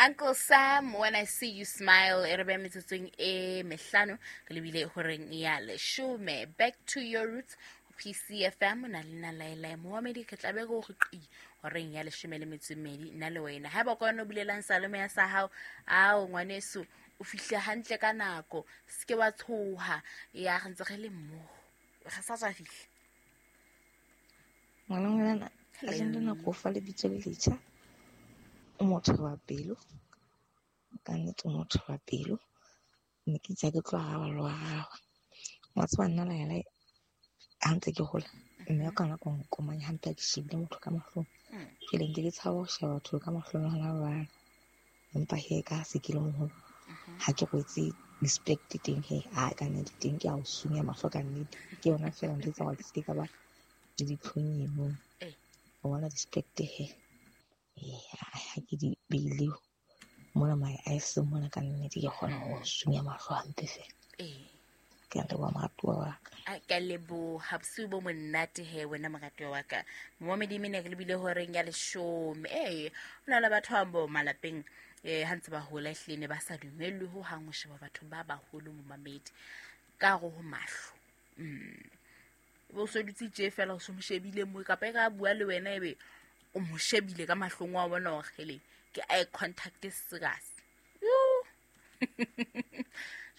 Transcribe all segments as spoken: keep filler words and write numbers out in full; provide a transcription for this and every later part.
Uncle Sam, When I See You Smile, e re beha metsotsong e mehlano re lebile horeng ya leshome. Back to your roots, P C F M, na le nna Laelae Mohamedi, ke tla be go re qi horeng ya leshome le metso e mmedi nna le wena. Haeba ka wena o bulelang salome ya sa hao, ao ngwaneso o fihle hantle ka nako, se ke wa tshoha, ya re ntse re le mmoho, re sa tswa fihla. Ngwana ngwana, kajeno lena ko fa lebitso le letjha. O motho wa pelo, ka nnete o motho wa pelo. Mme ke itse ha ke tlo araba le ho araba. Wa tseba nna Laelae ha ntse ke hola, mme wa ka nako nkomanya hampe ha ke shebile motho ka mahlong. Jwale nke ke tshaba ho sheba batho ka mahlong hona jwale. Empa he ka ha se ke le moholo, ha ke rwetse respect teng he, a ka nnete teng ke a o sunya mahlo ka nnete. Ke yona feela ntho e etsang hore ke se ke ka ba le ditlhong eno. O bona respect he. Ha ke di beile mona my eyes mona ka nnete ke kgona ho sunya mahlo hampe feela. Ke a leboha moratuwa wa ka. A ka leboha bosiu bo monate he wena moratuwa wa ka. Momedi mene re lebile horeng ya leshome. Eh, ho na le batho ba bo malapeng eh ha ntse ba hola ehlile ne ba sa dumellwe ho hang ho sheba batho ba baholo momamedi ka hare ho mahlo. Mm. Bo so dutse tje fela o so mo shebile mo kapa e ka bua le wena ebe o mo shebile ka mahlong wa bona hore hele ke eye contact serious.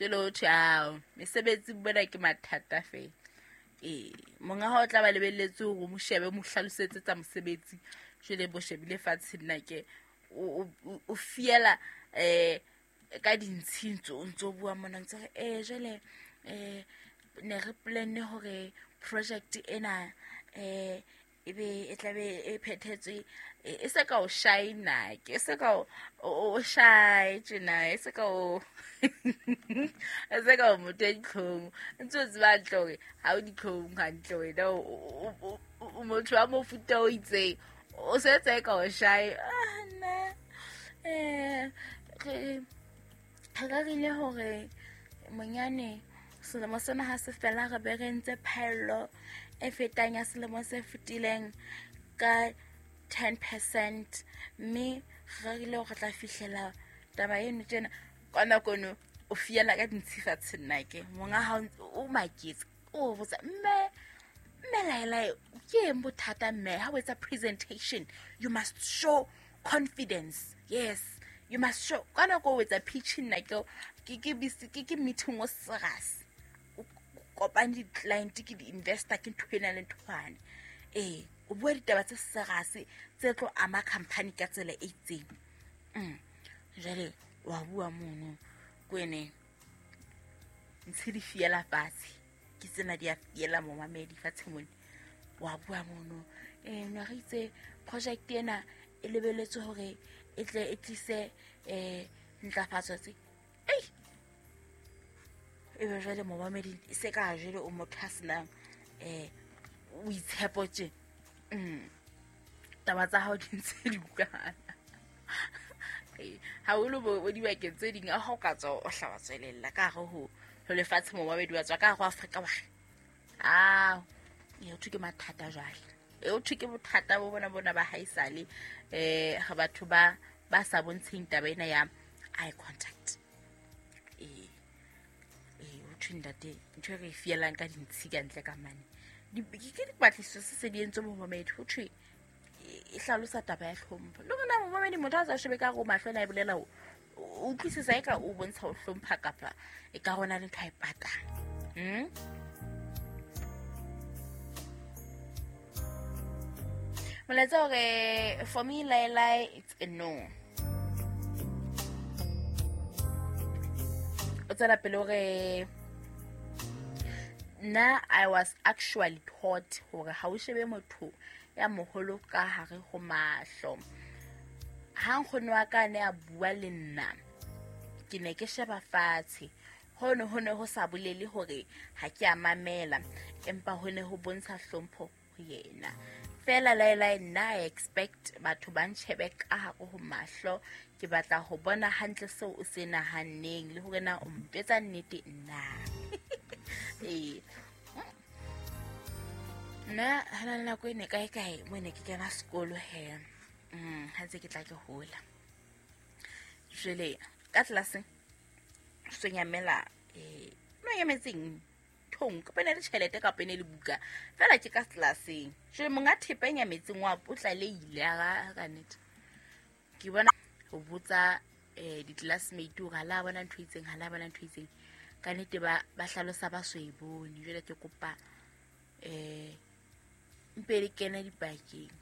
Jwale ho thwe ao mesebetsi bona ke mathata fela. Eh, monga hao tla ba lebelletse hore o mo shebe, o mo hlalosetse tsa mosebetsi. Jwale bo shebile fatshe nna ke o, o, o fiela eh ka dintshi ntso o ntso bua mona ntse re eh jwale eh ne re planne hore project ena eh ebe e tla be e phethetswe e se ka o shine ke se ka o, o shy tjena e se ka o e se ka o motho ya ditlhong ntse o tseba hantle hore ha o ditlhong hantle wena o, o, o motho wa mofuta o itseng o se tse ka o shy. Ah nna eh re re rerile hore monyane selemo sena ha se fela re be re ntse phaello e fetang ya selemo se fetileng ka ten percent mme re rerile hore re tla fihlela taba eno tjena. Ka nako eno o fiela ka dintshi fatshe nna ke monga hao o maketse o botsa mme mme Laelae ke eng bothata mme ha o etsa presentation you must show confidence. Yes, you must show. Ka nako o etsa pitch nna ke ke ke ke ke meeting o serious o kopane di-client ke di-investor ke ntho ena le nthwane. Eh, o bua ditaba tse serious tse tlo ama company ka tsela e itseng. Mm. Jwale wa bua mono kwene ntse di fiela fatshe ke tsena di a fiela momamedi fatshe mone. Wa bua mono eh ne re itse project ena e lebeletse hore e tle e tlise eh ntlafatso tse. Ei, ebe jwale momamedi e se ka jwale o motho a senang eh o itshepo tje. Mm. Taba tsa hao di ntse di utlwana. Eh, haholo bo, bo dibakeng tse ding, ha o ka tswa o hla wa tswelella ka hare ho, ho lefatshe momamedi wa tswa ka hare ho Afrika Borwa. Ao, e ho thwe ke mathata jwale. E ho thwe ke bothata bo bona bona ba haesale eh ha batho ba, ba sa bontsheng taba ena ya eye contact. Eh, eh, ho thwe ntate ntho e re e fielang ka dintshi ka ntle ka mane. Di, ke, ke dipatlisiso se se di entswe momamedi, ho thwe e hlalosa taba ya hlompho. Le rona momamedi motho a sa shebe ka hore mahlo a e bolela o, o utlwisisa eka o bontsha ho hlompha kapa e ka rona le ntho a e patang. Hmm? Molaetsa hore for me Laelae it's a no. O tswela pele hore nna I was actually taught hore ha o shebe motho ya moholo ka hare ho mahlo. Ha nkgono wa ka ne a bua le nna, ke ne ke sheba fatshe. Hono ho ne ho sa bolele hore ha ke a mamela, empa ho ne ho bontsha hlompho ho yena. Fela Laelae nna I expect batho ba ntjhebe ka hare ho mahlo. Ke batla ho bona hantle seo o se nahanneng le hore na o mpetsa nnete nna. Eh. Nna ha na le nako e ne kae kae mo ne ke kena sekolo he. Mm, ha ntse ke tla ke hola. Jwale ka tlelaseng so nyamela eh no nyametseng thong ka pene le tjhelete ka pene le buka fela ke ka tlelaseng. Jwale monga thepa e nyametseng wa o tlaleile a ka nnete. Ke bona ho botsa eh di-classmate hore ha la bona ntho e itseng, ha la bona ntho e itseng. Ka nnete ba ba hlalosa ba so e bone. Jwale ke kopa eh mpe le kene dipakeng.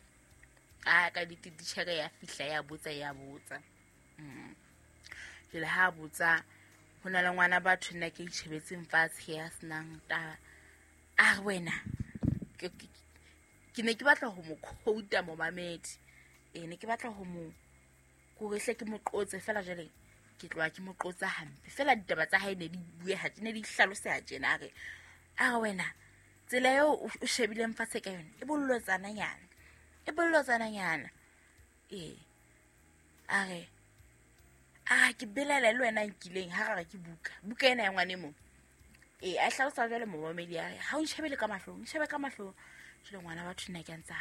A ka nnete titjhere ya fihla ya botsa ya botsa. Mm. Jwale ha botsa ho na le ngwana batho nna ke itjhebetseng fatshe ya senang taba. A re wena ke ke ne ke batla ho mo quote momamedi. Eh ne ke batla ho mo hore hle ke mo qotse fela jwale ke tloha ke mo qotsa hampe. Fela ditaba tsa hae ne di bueha ne di hlaloseha tjena. A re a re wena tsela eo o shebileng fatshe ka yona e bollotsana nyana, e bollotsana nyana. Eh a re a ke belaela le wena nkileng ha re ke buka buka ena ya ngwane mo. Eh a hlalosa jwale momamedi a re ha o nshebele ka mahlong, nshebe ka mahlong. Jwale ngwana batho nna ke a ntsa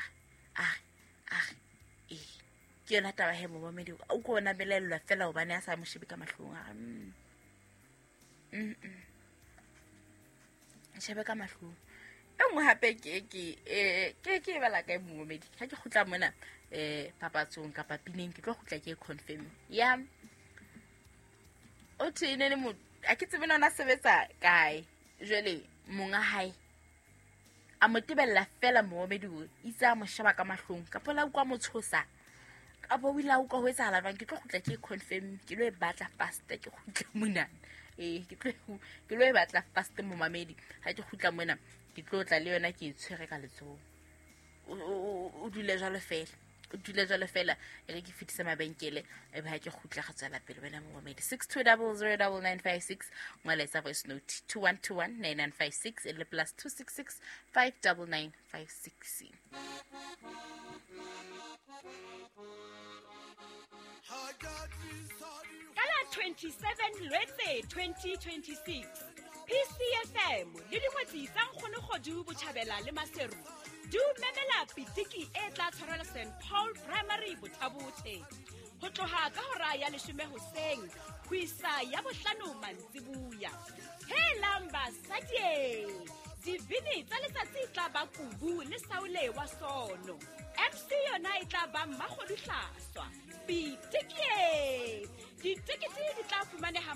a re a re eh ke yona taba he momamedi o ko bona belaellwa fela hobane a sa mo shebe ka mahlong. A re mm mm nshebe ka mahlong. E nngwe hape ke ke eh ke ke bala kae momamedi ha ke kgutla mona eh papatsong kapa pineng ke tlo kgutla ke confirm ya o thwe ne le mo a ke tsebe nona sebetsa kae. Jwale monga hae a mo tebella fela momamedi o itse a mo sheba ka mahlong kapa la utlwa mo tshosa kapa o ile a utlwa ho etsahala jwang. Ke tlo kgutla ke confirm ke lo e batla fast ke kgutla mona. Eh ke tlo ke lo e batla fast momamedi ha ke kgutla mona ke tlo tla le yona ke e tshwere ka letsoho. O dule jwalo fela, o dule jwalo fela e re ke fetise mabenkele e be ha ke kgutla ga tswela pele wena momamedi. Six two double zero double nine five six ngwala voice note two one two one nine nine five six e le plus two six six five double nine five six. Ka la twenty-seven Lwetse twenty twenty-six P C F M le dingwetsi tsa Nkgonokgodu Botjhabela le Maseru di o memela pitiki e tla tshwarelwa Saint Paul Primary Bothabothe ho tloha ka hora ya leshome hoseng ho isa ya bohlano mantsibuya. Helang basadi, dibini tsa letsatsi tla ba Kubu le Saule wa Sono. M C yona e tla ba Mmakgodu Hlaswa. Pitiki e ditekete di tla fumaneha